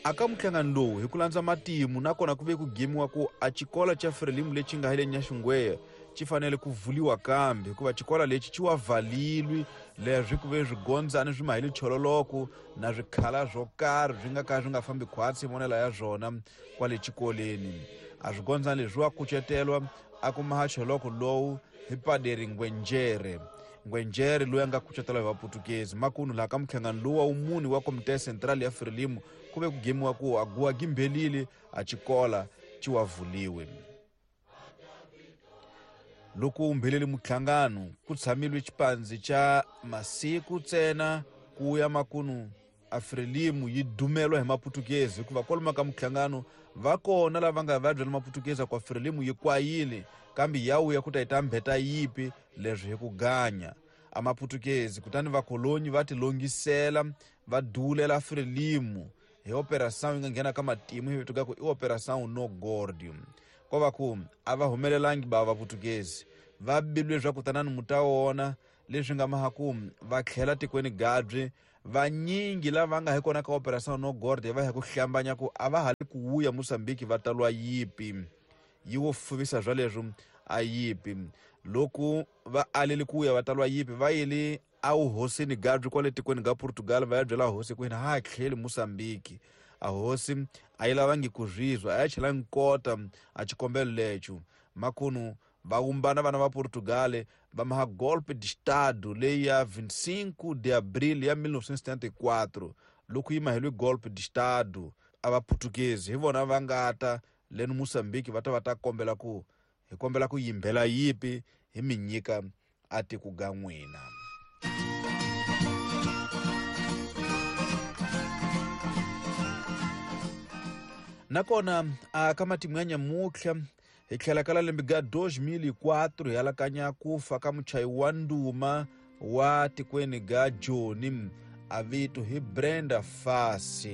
Aka muhlangano lowu hi ku landza matimu nakona ku ve ku gimiwa ku a xikolo xa Frelimo lexi nga hi le Nyaxingweya xi fanele ku vuliwa kambe hikuva xikolo lexi xi wa valilwi leswi ku ve swigondzani swi mahile chololoko na swikhala swo karhi swi nga ka swi nga fambi khwatsi vonela ya swona kwale xikoleni. A swigondzani leswi wa kucetelwa a ku maha choloko lowu hi paderi Ngwenjere. Ngwenjere loyi a nga kucetelwa hi vaputukezi makunu laha ka muhlangano lowu wa wumuni wa Komite Central ya Frelimo ku ve ku gemiwa ku a guwa gimbelile a xikola xi wa vuliwe. Loko umbheleli muhlangano ku tshamilwe xipandzi xa masiku ntsena ku ya makunu a Frelimo yi dumelwa hi maputukezi hikuva kwalomu ka muhlangano va kona lava nga va byela maputukezi ku Frelimo yi kwayile kambe ya wuya ku ta yi ta mbheta yipi leswi hi ku ganya a maputukezi kutani vakolonyi va tilongisela va dulela Frelimo hi operação yi nga nghena ka matimu hi vito ku i operação no gordium. Ko va ku a va humelelangi ba vaputukezi va bilwe leswaku tanani mu ta wona leswi nga maha ku va tlhela tikweni gabyi vanyingi lava nga hi kona ka operação no gorde va ya ku hlambanya ku a va ha li ku wuya Mozambique va talwa yipi yi wo fuvisa swa leswo a yipi loko va aleli ku ya va talwa yipi va yile a wuhosini gabyi kwale tikweni ga Portugal va ya byela hosi ku hina ha tlheli Mozambique. A hosi a yi lavangi ku zwizwa a ya chela nkota a xikombelo lexo makunu va wumbana vana va Portugal va maha golpe de estado leyi ya 25 de abril ya 1974 loko yi maheliwe golpe de estado a vaputukezi hi vona va nga ta leno Mozambique va ta va ta kombela ku hi kombela ku yimbela yipi hi mi nyika a tiko ga n'wina. Nakona a ka matimu ya nyamutlha hi tlhela ka lembe ga 2004 hi alakanya ku fa ka muchayi wa nduma wa tikweni ga Joni a vito hi Brenda Fassie.